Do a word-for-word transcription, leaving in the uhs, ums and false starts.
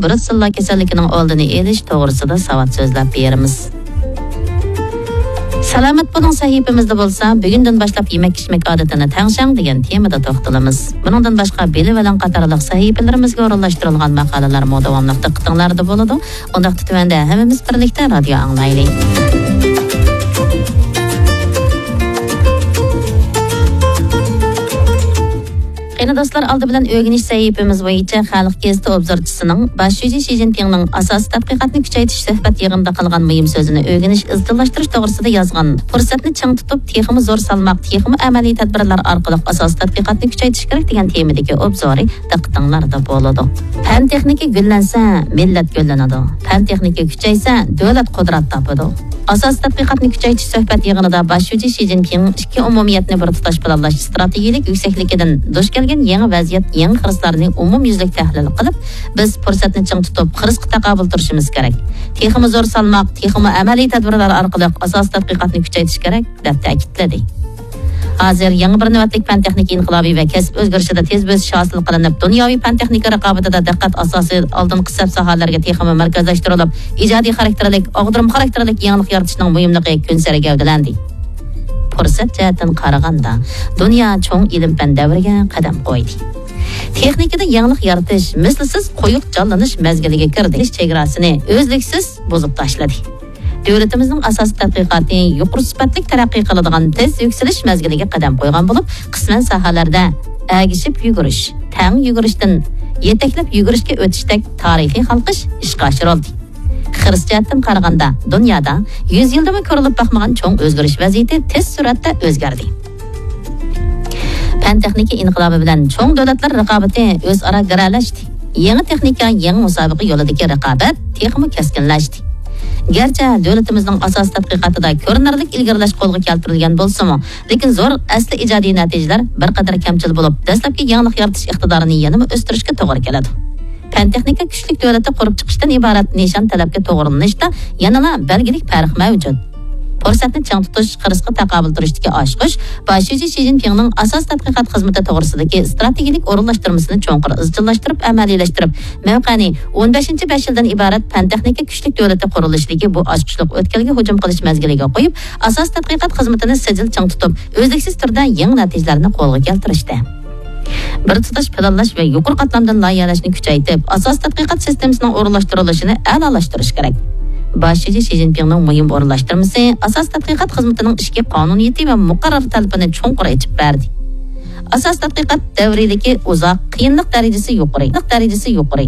بروتسېللا كېسەللىكىنىڭ ئالدىنى ئېلىش توغرىسىدا ساۋات سۆزلەپ بېرىمىز. سالامەت بولۇڭ سەھىپىمىزدە بولسا، بۈگۈندىن باشلاپ يېمەك-ئىچمەك ئادىتىنى تەڭشەڭ دېگەن تېمىدا توختىلىمىز. بۇنىڭدىن باشقا، بىلىۋېلىڭ قاتارلىق سەھىپىلىرىمىزگە ئورۇنلاشتۇرۇلغان ماقالىلەرمۇ داۋاملىق دىققىتىڭلاردا بولىدۇ. ئۇنداقتا تۆۋەندە ھەممىمىز بىرلىكتە رادىيو ئاڭلايلى. قېنى دوستلار، ئالدى بىلەن ئۆگىنىش سەھىپىمىز بويىچە خەلق گېزىتى ئوبزورچىسىنىڭ باش شۇجى شى جىنپىڭنىڭ ئاساسىي تەتقىقاتنى كۈچەيتىش سۆھبەت يىغىنىدا قىلغان مۇھىم سۆزىنى ئۆگىنىش، ئىزچىللاشتۇرۇش توغرىسىدا يازغان، پۇرسەتنى چىڭ تۇتۇپ، تېخىمۇ زور سالماق، تېخىمۇ ئەمەلىي تەدبىرلەر ئارقىلىق ئاساسىي تەتقىقاتنى كۈچەيتىش كېرەك دېگەن تېمىدىكى ئوبزورى دىققىتىڭلاردا بولىدۇ. پەن تېخنىكا گۈللەنسە، مىللەت گۈللىنىدۇ. پەن تېخنىكا كۈچەيسە، دۆلەت قۇدرەت تاپىدۇ. ئاساسىي تەتقىقاتنى كۈچەيتىش سۆھبەت يىغىنىدا باش شۇجى شى جىنپىڭ ئىككى ئومۇمىيەتنى بىر تۇتاش پىلانلاش ئىستراتېگىيەلىك يۈكسەكلىكىدىن دۇچ كەلگەن يېڭى ۋەزىيەت، يېڭى خىرىسلارنى ئومۇميۈزلۈك تەھلىل قىلىپ، بىز پۇرسەتنى چىڭ تۇتۇپ، خىرىسقا تاقابىل تۇرۇشىمىز كېرەك. تېخىمۇ زور سالماق، تېخىمۇ ئەمەلىي تەدبىرلەر ئارقىلىق ئاساسىي تەتقىقاتنى كۈچەيتىش كېرەك، دەپ تەكىتلىدى. ھازىر يېڭى بىر نۆۋەتلىك پەن-تېخنىكا ئىنقىلابى ۋە كەسىپ ئۆزگىرىشىدە تېز بۆسۈش ھاسىل قىلىنىپ، دۇنياۋى پەن-تېخنىكا رىقابىتىدە دىققەت ئاساسىي ئالدىنقى سەپ ساھەلەرگە تېخىمۇ مەركەزلەشتۈرۈلۈپ، ئىجادىي خاراكتېرلىك، ئاغدۇرما خاراكتېرلىك يېڭىلىق يارىتىشنىڭ مۇھىملىقى كۈنسېرى گەۋدىلەندى. پۇرسەت جەھەتتىن قارىغاندا، دۇنيا چوڭ ئىلىم-پەن دەۋرىگە قەدەم قويدى. تېخنىكىدا يېڭىلىق يارىتىش، مىسلىسىز قويۇق جانلىنىش مەزگىلىگە كىردى. چېگراسىنى ئۈزلۈكسىز بۇزۇپ تاشلىدى. دۆلىتىمىزنىڭ ئاساسىي تەتقىقاتى يۇقىرى سۈپەتلىك تەرەققىي قىلىدىغان تېز يۈكسىلىش مەزگىلىگە قەدەم قويغان بولۇپ، قىسمەن ساھەلەردە ئەگىشىپ يۈگۈرۈش، تەڭ يۈگۈرۈشتىن يېتەكلەپ يۈگۈرۈشكە ئۆتۈشتەك تارىخىي ھالقىش ئىشقا ئاشۇرۇلدى. خىرىس جەھەتتىن قارىغاندا، دۇنيادا يۈز يىلدىمۇ كۆرۈلۈپ باقمىغان چوڭ ئۆزگىرىش ۋەزىيىتى تېز سۈرئەتتە ئۆزگەردى. پەن-تېخنىكا ئىنقىلابى بىلەن چوڭ دۆلەتلەر رىقابىتى ئۆزئارا گىرەلەشتى. يېڭى تېخنىكا، يېڭى مۇسابىقە يولىدىكى رىقابەت تېخىمۇ كەسكىنلەشتى. گەرچە دۆلىتىمىزنىڭ ئاساسىي تەتقىقاتىدا كۆرۈنەرلىك ئىلگىرىلەش قولغا كەلتۈرۈلگەن بولسىمۇ، لېكىن زور ئەسلى ئىجادىي نەتىجىلەر بىر قەدەر كەمچىل بولۇپ، دەسلەپكى يېڭىلىق يارىتىش ئىقتىدارىنى يەنىمۇ ئۆستۈرۈشكە توغرا كېلىدۇ. پەن-تېخنىكا كۈچلۈك دۆلىتى قۇرۇپ چىقىشتىن ئىبارەت نىشان تەلەپكە توغرىلىنىشتا يەنىلا بەلگىلىك پەرق مەۋجۇت. پۇرسەتنى چىڭ تۇتۇش، خىرىسقا تاقابىل تۇرۇشتىكى ئاچقۇچ باش شۇجى شى جىنپىڭنىڭ ئاساسىي تەتقىقات خىزمىتى توغرىسىدىكى ئىستراتېگىيەلىك ئورۇنلاشتۇرمىسىنى چوڭقۇر ئىزچىللاشتۇرۇپ ئەمەلىيلەشتۈرۈپ، مەۋقەنى ئون بەشىنچى بەش يىلدىن ئىبارەت پەن-تېخنىكا كۈچلۈك دۆلىتى قۇرۇلۇشىدىكى بۇ ئاچقۇچلۇق ئۆتكەلگە ھۇجۇم قىلىش مەزگىلىگە قويۇپ، ئاساسىي تەتقىقات خىزمىتىنى سىجىل چىڭ تۇتۇپ، ئۈزلۈكسىز تۈردە يېڭى نەتىجىلەرنى قولغا كەلتۈرۈشتە. بىر تۇتاش پىلانلاش ۋە يۇقىرى قاتلامدىن لايىھەلەشنى كۈچەيتىپ، ئاساسىي تەتقىقات سىستېمىسىنىڭ ئورۇنلاشتۇرۇلۇشىنى ئەلالاشتۇرۇش كېرەك. باش شۇجى شى جىنپىڭنىڭ مۇھىم ئورۇنلاشتۇرمىسى ئاساسىي تەتقىقات خىزمىتىنىڭ ئىچكى قانۇنىيىتى ۋە مۇقەررەر تەلىپىنى چوڭقۇر ئېچىپ بەردى. ئاساسىي تەتقىقات دەۋرىيلىكى ئۇزاق، قىيىنلىق دەرىجىسى يۇقىرى. دەرىجىسى يۇقىرى.